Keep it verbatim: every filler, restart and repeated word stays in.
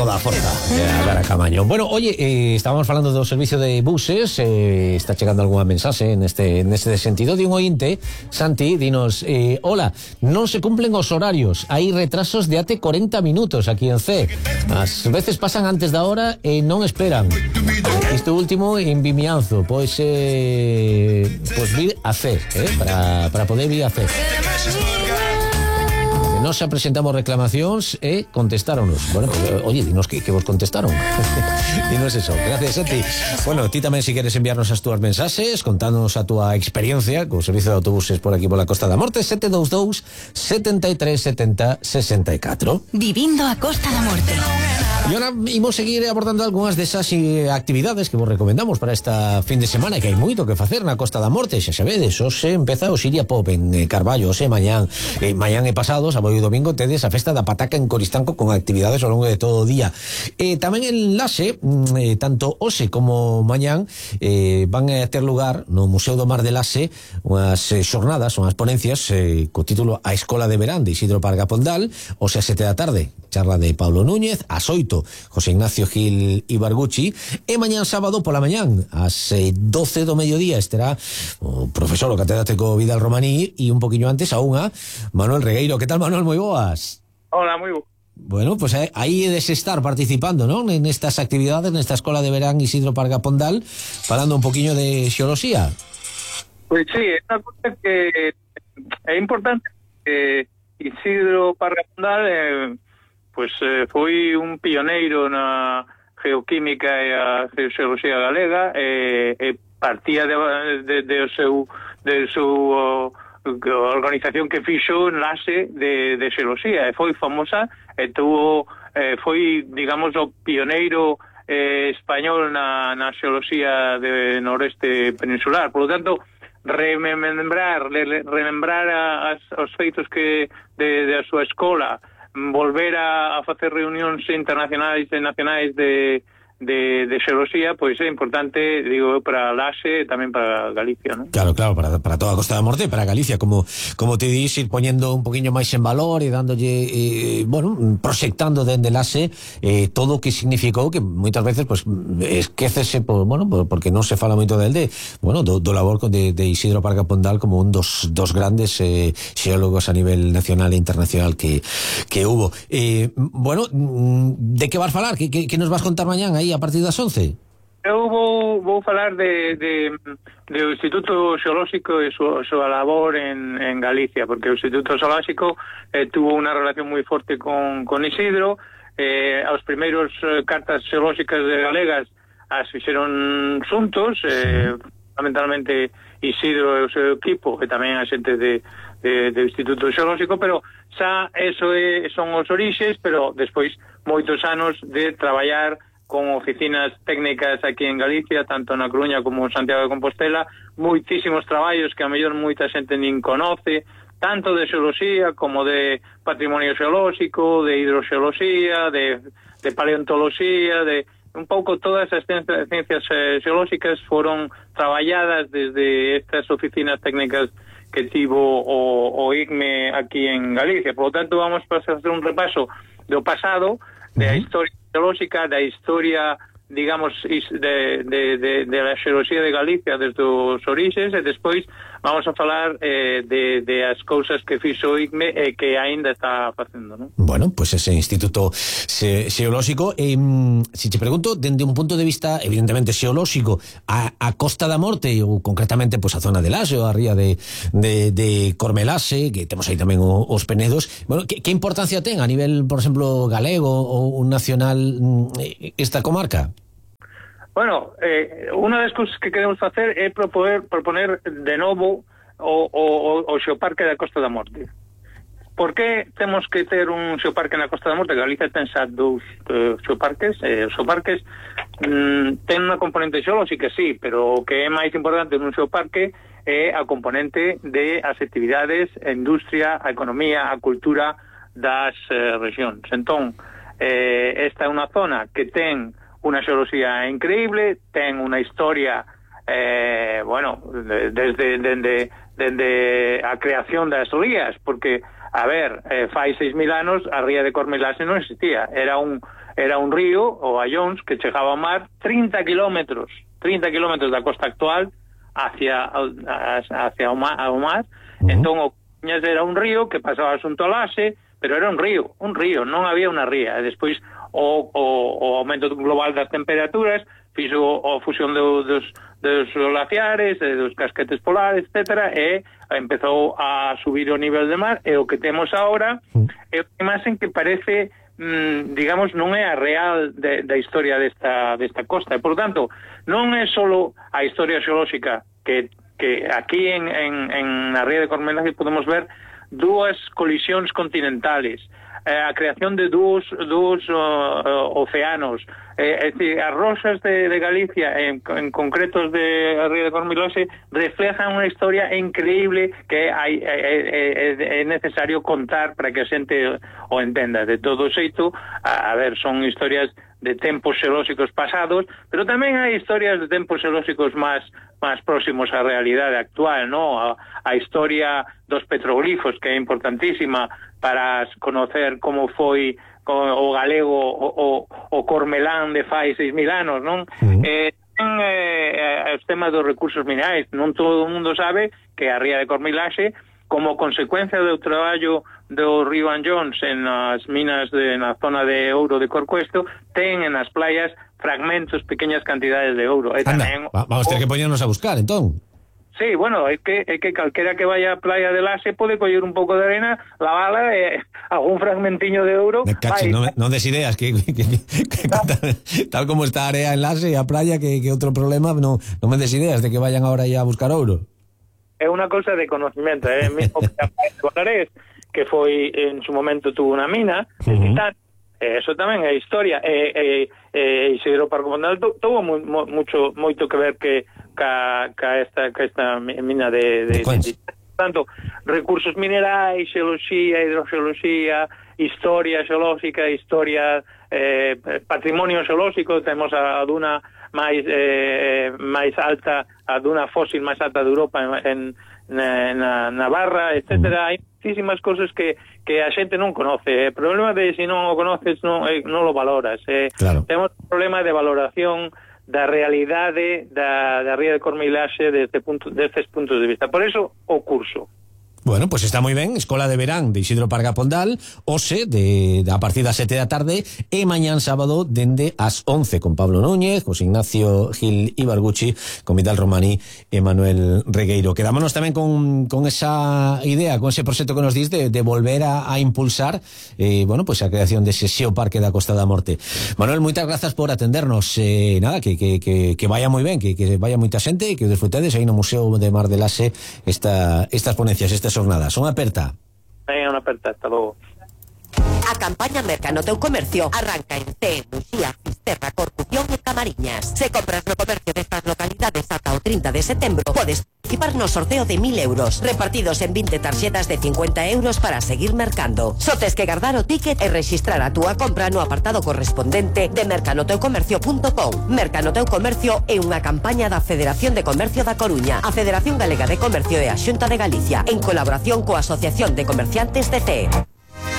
toda a forza de dar a Camaño. Bueno, oye, eh, estábamos falando do servicio de buses, eh, está chegando algunha mensaxe neste, neste sentido de un ointe. Santi, dinos, eh, hola, non se cumplen os horarios, hai retrasos de até cuarenta minutos aquí en C. As veces pasan antes da hora e non esperan. Isto último en Vimianzo, pois eh, pois vir a C, eh, para, para poder vir a C. Nos xa presentamos reclamacións e contestáronos. Bueno, pues, oye, dinos que, que vos contestaron. Dinos eso. Gracias a ti. Bueno, ti tamén si queres enviarnos as túas mensaxes, contanos a túa experiencia co servicio de autobuses por aquí pola Costa da Morte, sete dous dous, setenta e tres, setenta, sesenta e catro. Vivindo a Costa da Morte. E ahora imos seguir abordando algunhas desas eh, actividades que vos recomendamos para esta fin de semana, que hai moito que facer na Costa da Morte. Xa sabedes, hoxe empeza o Siria Pop en eh, Carballo, hoxe mañán, eh, mañán e pasado, sábado e domingo, tedes a festa da pataca en Coristanco con actividades ao longo de todo o día. Eh, tamén en Laxe, eh, tanto hoxe como mañán, eh, van a ter lugar no Museo do Mar de Laxe unhas eh, xornadas, unhas ponencias eh, co título A Escola de Verán de Isidro Parga Pondal, hoxe a sete da tarde, charla de Pablo Núñez, ás oito, José Ignacio Gil Ibarguchi, e mañán sábado pola mañán, ás eh, doce do mediodía, estará o profesor, o catedrático Vidal Romaní, e un poquinho antes a unha, Manuel Regueiro. Que tal, Manuel? Moi boas. Hola, moi bo. Bueno, pues eh, aí é de se estar participando, non? En estas actividades, nesta Escola de Verán Isidro Parga Pondal, falando un poquinho de xeoloxía. Pois sí, é unha cosa que é importante que Isidro Parga Pondal eh, pues, eh, foi un pioneiro na geoquímica e a geoxeoloxía galega, e eh, eh, partía de, de, de o seu de seu a organización que fixo enlace de, de xeoloxía, e foi famosa, e tuvo, eh, foi, digamos, o pioneiro eh, español na, na xeoloxía de noreste peninsular. Por lo tanto, remembrar, remembrar as, os feitos que de, de a súa escola, volver a, a facer reunións internacionais e nacionais de de, de xeoloxía, pois é importante, digo, para Laxe e tamén para Galicia, non? Claro, claro, para, para toda a Costa da Morte, para Galicia, como como te dis, ir poñendo un poquinho máis en valor e dándolle, eh, bueno, proxectando dende Laxe eh, todo o que significou, que moitas veces, pues, esquécese, por, bueno, por, porque non se fala moito del de, bueno, do, do labor de, de Isidro Parga Pondal como un dos, dos grandes eh, xeólogos a nivel nacional e internacional que, que hubo. Eh, bueno, de que vas falar? Que, que, que nos vas contar mañán aí a partir das once? Eu vou, vou falar de, de, de o Instituto Xeolóxico e súa su labor en, en Galicia, porque o Instituto Xeolóxico eh, tuvo unha relación moi forte con, con Isidro. Eh, aos primeiros eh, cartas xeolóxicas de galegas as fixeron xuntos, eh, fundamentalmente Isidro e o seu equipo, e tamén a xente de, de, do Instituto Xeolóxico, pero xa eso é, son os orixes, pero despois moitos anos de traballar con oficinas técnicas aquí en Galicia, tanto na Coruña como en Santiago de Compostela, moitísimos traballos que a mellor moita xente nin conoce, tanto de xeoloxía como de patrimonio xeolóxico, de hidroxeoloxía, de, de paleontoloxía, de un pouco todas as ciencias xeolóxicas foron traballadas desde estas oficinas técnicas que tivo o, o I C M E aquí en Galicia. Por lo tanto, vamos a hacer un repaso do pasado, de a historia xeolóxica, da historia, digamos, de, de, de, de la xeoloxía de Galicia desde os orixes, e despois vamos a falar eh, de, de as cousas que fixo o I C M E e que aínda está facendo, non? Bueno, pues ese Instituto xe, Xeolóxico, eh, si te pregunto, dende un punto de vista evidentemente xeolóxico, a, a Costa da Morte, ou concretamente pues, a zona de Laxe, ou a ría de, de, de Cormelaxe, que temos aí tamén o, os Penedos, bueno, que, que importancia ten a nivel, por exemplo, galego ou nacional esta comarca? Bueno, eh, unha das cousas que queremos facer é proponer, proponer de novo o, o, o xeoparque da Costa da Morte. Por que temos que ter un xeoparque na Costa da Morte? Galicia ten xa dous eh, xeoparques. Eh, os xeoparques mm, ten unha componente xeolóxica, sí, pero o que é máis importante nun xeoparque é a componente de as actividades, a industria, a economía, a cultura das eh, regións. Entón, eh, esta é unha zona que ten unha xeoloxía increíble, ten unha historia, eh, bueno, desde, desde, desde a creación das rías, porque a ver, eh, fai seis mil anos a ría de Cormelase non existía, era un era un río, o Allóns, que chegaba ao mar trinta kilómetros, trinta kilómetros da costa actual hacia hacia o mar, ao mar. Uh-huh. Entón o Coruñas era un río que pasaba xunto ao Laxe, pero era un río, un río, non había unha ría. E despois o, o, o aumento global das temperaturas fixo a fusión do, dos, dos glaciares, dos casquetes polares, etcétera, e empezou a subir o nivel de mar, e o que temos agora é unha imaxen que parece, mmm, digamos, non é a real de, da historia desta, desta costa, e, por tanto, non é solo a historia xeolóxica, que, que aquí en, en, en a ría de Cormelase podemos ver dúas colisións continentales, eh, a creación de dúos, dúos uh, uh, océanos, eh, es decir, as rosas de, de Galicia, en, en concretos de a ría de Cormelase, reflejan unha historia increíble que hai, é, é, é necesario contar para que a xente o entenda. De todo xeito, a, a ver, son historias de tempos xeolóxicos pasados, pero tamén hai historias de tempos xeolóxicos máis máis próximos á realidade actual, ¿no? A, a historia dos petroglifos, que é importantísima para conocer como foi o galego o, o, o Cormelán de fai seis mil anos, non? Uh-huh. Eh, eh, os temas dos recursos minerais, non todo o mundo sabe que a ría de Cormelase, como consecuencia do traballo do río Allóns en as minas de, na zona de ouro de Corcoesto, ten en as playas fragmentos, pequeñas cantidades de ouro. E Anda, tamén, vamos a ter que poñernos a buscar, entón. Sí, bueno, é que, é que calquera que vaya a playa de Laxe pode coller un pouco de arena, lavala e algún fragmentiño de ouro. Me cacho, non, non des ideas que, que, que, que tal, tal como está a area en Laxe e a playa, que, que outro problema, non, non me des ideas de que vayan ahora ya a buscar ouro. É unha cousa de conocimiento, é eh? mismo que a playa de Bonares, que foi en su momento tuvo unha mina, uh-huh. el Titán, eh, eso tamén é historia, e eh, eh, Isidro Parco Pondal tuvo mu, mu, mucho moito que ver que ca, ca esta ca esta mina de, de, de, de, de tanto recursos minerais, xeoloxía, hidroxeoloxía, historia xeolóxica, historia, eh, patrimonio xeolóxico. Temos a, a duna máis eh, máis alta, a duna fósil máis alta de Europa en, en na Navarra, etcétera. Hai muchísimas cosas que, que a xente non conoce. O problema de se non o conoces non, eh, non lo valoras. Eh. Claro. Temos un problema de valoración da realidade da, da ría de Cormelase desde punto, destes puntos de vista. Por eso o curso. Bueno, pues está moi ben, Escola de Verán de Isidro Parga Pondal, hoxe de, de a partir das sete da tarde e mañán sábado dende as once con Pablo Núñez, José Ignacio Gil Ibarguchi, con Vidal Romani e Manuel Regueiro. Quedámonos tamén con, con esa idea, con ese proxecto que nos dis de, de volver a, a impulsar eh, bueno, pues a creación dese xeoparque da Costa da Morte. Manuel, moitas grazas por atendernos, eh, nada, que, que, que, que vaya moi ben, que, que vaya moita xente e que disfrutedes aí no Museo de Mar de Laxe esta, estas ponencias, estas jornadas. Unha aperta. Venga, unha aperta, hasta logo. A campaña Merca no teu comercio arranca en Cee, Muxía, Fisterra, Corcubión e Camariñas. Se compras no comercio destas localidades ata o trinta de setembro, podes participar no sorteo de mil euros, repartidos en vinte tarxetas de cincuenta euros para seguir mercando. Só tes que guardar o ticket e rexistrar a túa compra no apartado correspondente de mercanoteucomercio punto com. Merca no teu comercio é unha campaña da Federación de Comercio da Coruña, a Federación Galega de Comercio e a Xunta de Galicia, en colaboración coa Asociación de Comerciantes de Cee.